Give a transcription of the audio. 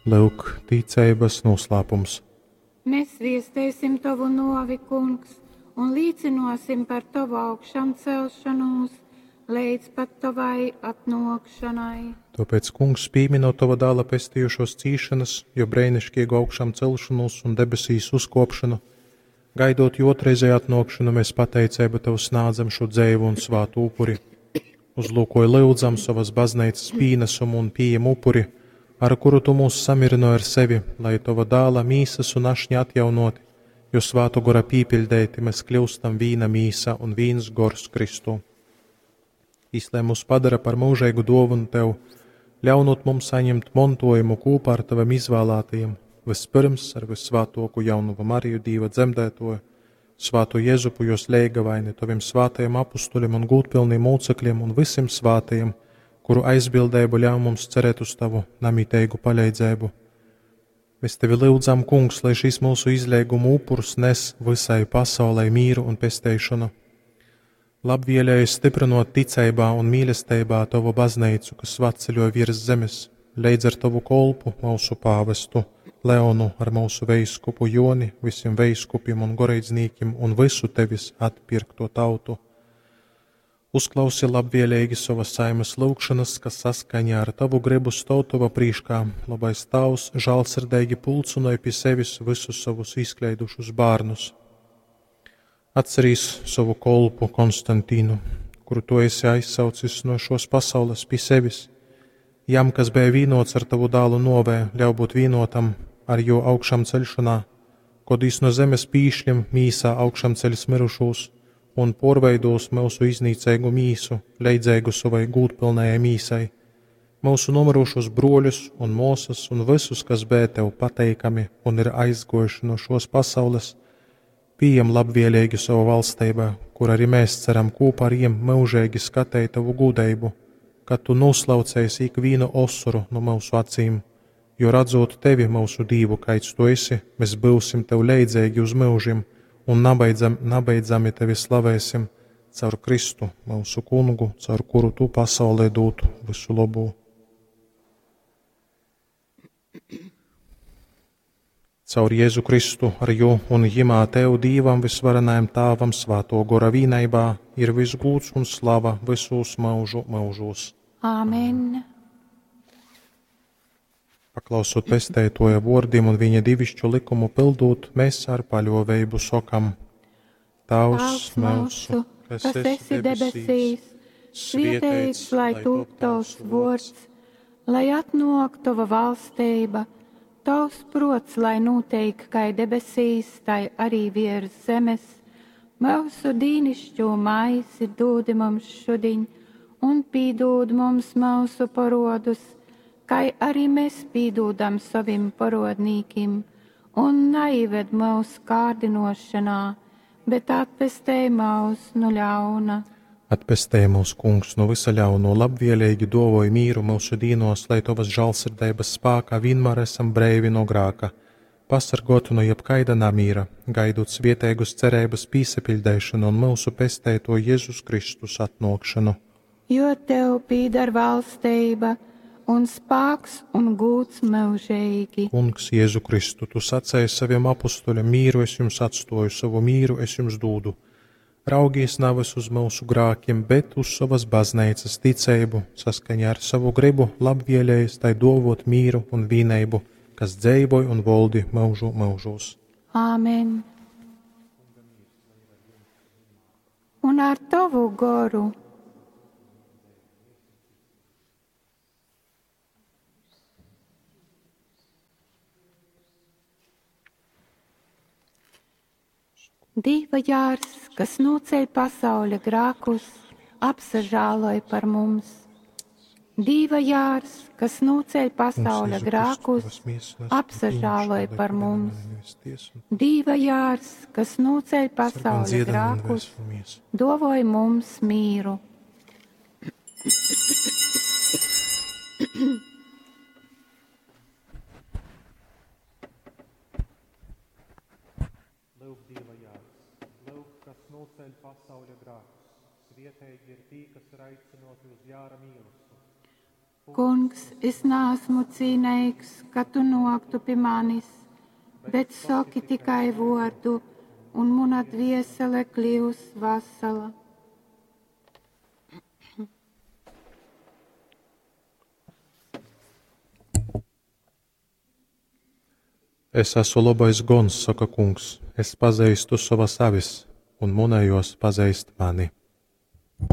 Lyuk, ticeibas nūslāpums. Mēs viestēsim tovu novi, kungs, un līcinosim par tovu augšamcelšanos līdz pat tavai atnākšanai. Tāpēc, kungs, pieminot tava dēla pestījušos cīšanas, jo brēnišķīgu augšām celšanos un debesīs uzkopšanu, gaidot jo otrreizēju atnākšanu, mēs pateicību tev snādzam šo dzēvu un svātu upuri. Uzlūkoja lūdzam savas baznīcas pīnesumu un pieejam upuri, ar kuru tu mūs samirināji ar sevi, lai tava dēla mīsas un ašņa atjaunoti, jo svātu gora pīpildēti mēs kļūstam vīna mīsa un vīns gors Kristū. Lai mūs padara par mūžīgu dāvanu tev, ļaunot mums saņemt montojumu kopā ar taviem izvēlētajiem, vispirms ar visvētāko jaunumu Mariju Dīva dzemdētoju, svāto Jēzupu jos leigavaini, taviem svātajiem apustuļiem un gūtpilniem mūcekļiem un visiem svātajiem, kuru aizbildību ļauj mums cerēt uz tavu namiteigu palīdzību. Mēs tevi lūdzam, kungs, lai šis mūsu izlīguma upurs nes visai pasaulē mīru un pesteišanu. Labvēlēji stiprinot ticībā un mīlestībā tavu baznīcu, kas svatceļo virs zemes, leidz ar tavu kolpu, mūsu pāvestu Leonu, ar mūsu veiskupu Joni, visiem veiskupiem un goreidznīkiem un visu tevis atpirkto tautu. Uzklausi labvēlīgi savas saimas lūgšanas, kas saskaņā ar tavu gribu stāv tava prīškā. Labais Tavs žālsirdīgi pulcinoja pie sevis visus savus izkleidušus bērnus. Atcerīs savu kolpu Konstantīnu, kuru tu esi aizsaucis no šos pasaules pie sevis. Jam, kas bija vīnots ar tavu dālu novē, ļauj būt vīnotam ar jo augšām ceļšanā, kod īs no zemes pīšļiem mīsā augšām ceļs mirušūs un porveidos mūsu iznīcīgu mīsu, leidzēgu savai gūtpilnējai mīsai, mūsu nomirušos broļus un mūsas un visus, kas bija tev pateikami un ir aizgojuši no šos pasaules, pieejam labvēlīgi savu valstībā, kur arī mēs ceram kopā ar jiem mūžīgi skatīt tavu gudrību, kad tu noslaucēsi ikvienu osoru no mūsu acīm, jo redzot tevi, mūsu Dievu, kāds tu esi, mēs būsim tev leidzīgi uz mūžiem un nabeidzami tevi slavēsim caur Kristu, mūsu kungu, caur kuru tu pasaulē dūtu visu labu. Caur Jēzu Kristu, ar jū un jimā tev Dīvam visvarenajam Tāvam svāto gora vīnaibā ir visgūts un slava visos mūžu mūžos. Āmen. Paklausot pestētoja vārdiem un viņa divišķu likumu pildot, mēs ar paļoveibu sokam: Tavs mūsu, kas esi debesīs, svietēts, lai top tavs vārds, lai atnāk tava valstība, tavs prots, lai notiek kā debesīs, tai arī virs zemes. Mūsu dīnišķo maisi dūdi mums šudiņ, un pīdūd mums mūsu parodus, kā arī mēs pīdūdam savim parodnīkim, un neived mūsu kārdinošanā, bet atpestē mūs no ļauna. Atpestē mūs, kungs, no visa ļauno, labvēlīgi dovoj mīru mūsu dīnos, lai tavas žālsirdības spākā vienmēr esam breivi no grāka, pasargotu no jebkaida namīra, gaidot svietēgus cerības pīsepildēšanu un mūsu pestēto Jēzus Kristus atnākšanu. Jo tev pīdar valstība un spāks un gūts mūžīgi. Kungs, Jēzu Kristu, tu sacēji saviem apustuļiem, mīru es jums atstoju, savu mīru es jums dūdu. Raugies nevis uz mūsu grākiem, bet uz savas baznīcas ticību, saskaņā ar savu gribu, labvēlējies tai dovot mīru un vīneibu, kas dzēvoj un voldi mūžu mūžos. Āmen. Un ar tavu goru. Dieva jārs, kas noceļ pasauļa grākus, apsažāloj par mums. Dieva jārs, kas noceļ pasauļa grākus, apsažāloj par mums. Dieva jārs, kas noceļ pasauļa grākus, dovoj mums mīru. Lūk, Dieva jārs, lūk, kas noceļ pasauļa grākus. Svietīgi ir tī, kas ir aicinoti uz jāra mīlestību. Kungs, es naasmu cīneigs, ka tu nōktu pi manis, bet soki tikai vōrdu, un muna dviesele kļius vasala. Es esmu lobais gons, soka Kungs, es pazeistu sovas avis, un munejōs pazeist mani.